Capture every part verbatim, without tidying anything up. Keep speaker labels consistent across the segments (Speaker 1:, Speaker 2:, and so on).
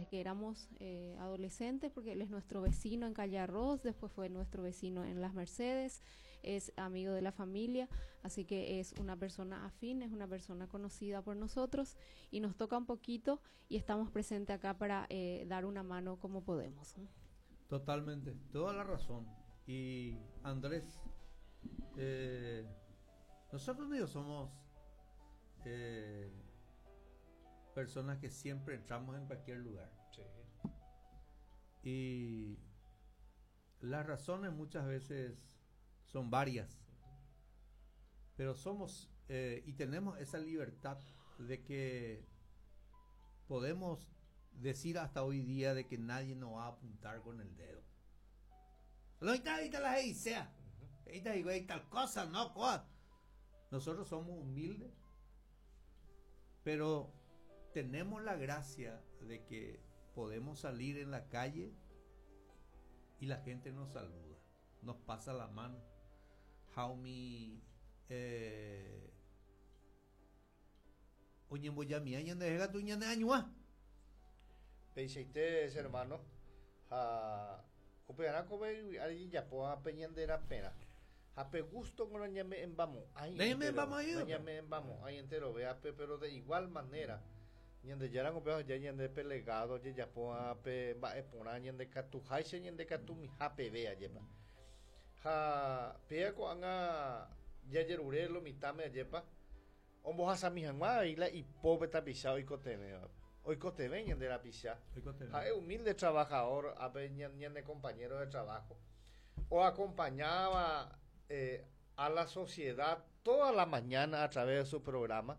Speaker 1: que éramos eh, adolescentes, porque él es nuestro vecino en Calle Arroz, después fue nuestro vecino en Las Mercedes, es amigo de la familia, así que es una persona afín, es una persona conocida por nosotros y nos toca un poquito y estamos presentes acá para eh, dar una mano como podemos.
Speaker 2: Totalmente, toda la razón. Y Andrés, eh, nosotros medio somos eh, personas que siempre entramos en cualquier lugar.
Speaker 3: Sí.
Speaker 2: Y las razones muchas veces son varias, pero somos eh, y tenemos esa libertad de que podemos decir hasta hoy día de que nadie nos va a apuntar con el dedo. Lo ahorita la sea. Tal cosa, no, cosa. Nosotros somos humildes, pero tenemos la gracia de que podemos salir en la calle y la gente nos saluda, nos pasa la mano. Ha umi eh, oñemboyamia ñande tu ñande añua.
Speaker 3: Peiseite hermano, ha upearã ko japo pe ñande pena. Ha pe gusto con ñame embamo. Ahí ñame embamo, ahí entero vea pero de igual manera. Ñandejára ko ya ñande pelegado japo pe mba'e porã ñande katu háicha ñande katu mihápe vea jepa. Ha pea ko'ág̃a jajerure lo mitãme jepa ombohasami hag̃ua avei la ipópe tapicha oikotevẽva. Oikotevẽ ñande rapicha. Ha'e humilde trabajador ape ñande compañero de trabajo o acompañaba eh, a la sociedad toda la mañana a través de su programa.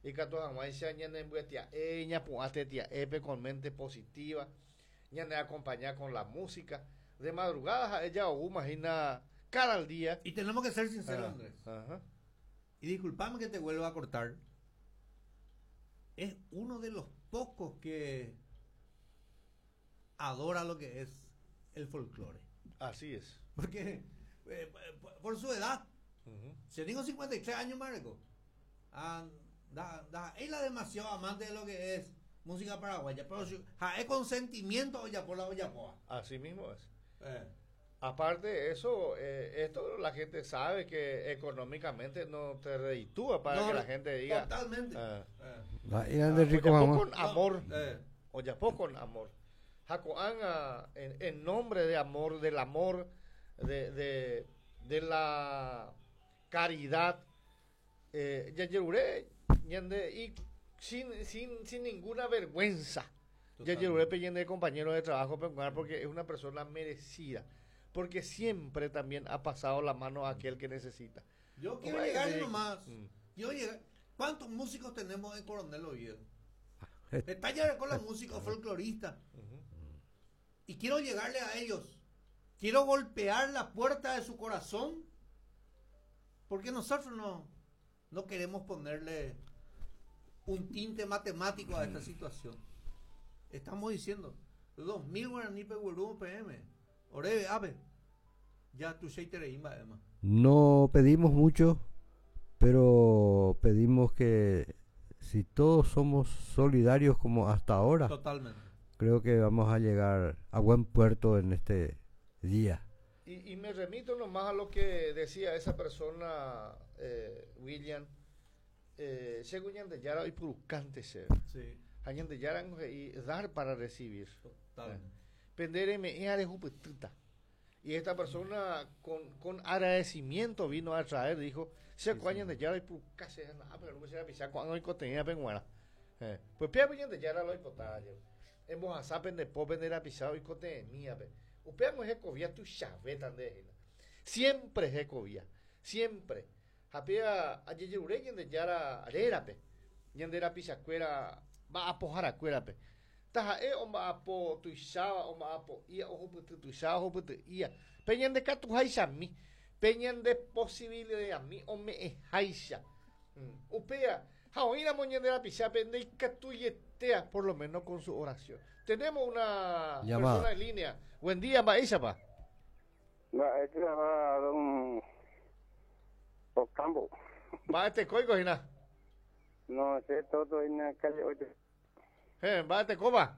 Speaker 3: Y katu hag̃uáicha ñane mbyetia'e ñapu'ã con mente positiva, ñane acompaña con la música. De madrugada ella o imagina cada día.
Speaker 2: Y tenemos que ser sinceros, ah, Andrés. Ajá. Y disculpame que te vuelva a cortar. Es uno de los pocos que adora lo que es el folclore.
Speaker 3: Así es.
Speaker 2: Porque eh, por su edad, uh-huh. Si tengo cincuenta y tres años, Marco, ah, da, da, él es demasiado amante de lo que es música paraguaya, pero si, ja, es con sentimiento olla por la olla poa.
Speaker 3: Así mismo es.
Speaker 2: Eh.
Speaker 3: Aparte de eso, eh, esto la gente sabe que económicamente no te reditúa para
Speaker 2: no,
Speaker 3: que la gente diga.
Speaker 2: Totalmente.
Speaker 3: Eh.
Speaker 2: Eh.
Speaker 3: Ah,
Speaker 4: rico,
Speaker 3: ollapó con amor.
Speaker 2: Eh.
Speaker 3: Ollapó con amor. Jacoán, en, en nombre de amor, del amor, de, de, de la caridad, eh, yajeruré, y sin, sin, sin ninguna vergüenza. Yajeruré de compañero de trabajo, porque es una persona merecida. Porque siempre también ha pasado la mano a aquel que necesita.
Speaker 2: Yo quiero llegar nomás. Mm. Yo llegar. ¿Cuántos músicos tenemos en Coronel Oviedo? Está ya con los músicos folcloristas.
Speaker 3: Uh-huh.
Speaker 2: Y quiero llegarle a ellos. Quiero golpear la puerta de su corazón. Porque nosotros no, no queremos ponerle un tinte matemático a esta situación. Estamos diciendo dos mil guaraní pe P M. Orebe, ave. Ya tu
Speaker 4: No pedimos mucho, pero pedimos que si todos somos solidarios como hasta ahora,
Speaker 2: totalmente,
Speaker 4: creo que vamos a llegar a buen puerto en este día.
Speaker 3: Y, y me remito nomás a lo que decía esa persona, eh, William, eh, según Ñandeyara y Purucante se.
Speaker 2: Sí.
Speaker 3: Ñandeyara y dar para recibir.
Speaker 2: Totalmente.
Speaker 3: Pendere me Y esta persona con, con agradecimiento vino a traer, dijo, se Ñandeyara y Purucante, pero no se pisar cuando hay cotenía penguana. Pues pia Ñandeyara lo hipotaba. En Bojasá pendepo pendera pisado y cotenía pe. Upeamos jecovía tu chaveta de siempre jecovía, siempre. Japea ayeyure Ñandeyara arerape, Ñandera pisacuera va a pojar acuerape. Taja e omba apo tuixaba omba apo ia ojo putu tuixaba ojo putu ia. Peñan de katu haisha mi, peñan de posibilidad mi ome e haisha. Upea, jaoína moñandera pisape de katuyetea por lo menos con su oración. Tenemos una
Speaker 4: llamada.
Speaker 3: Persona en línea. Buen día, Maísapa.
Speaker 5: Va, don Ocampo.
Speaker 3: Va este coico, Gina.
Speaker 5: No, es todo en la calle ocho.
Speaker 3: Eh, va este coba.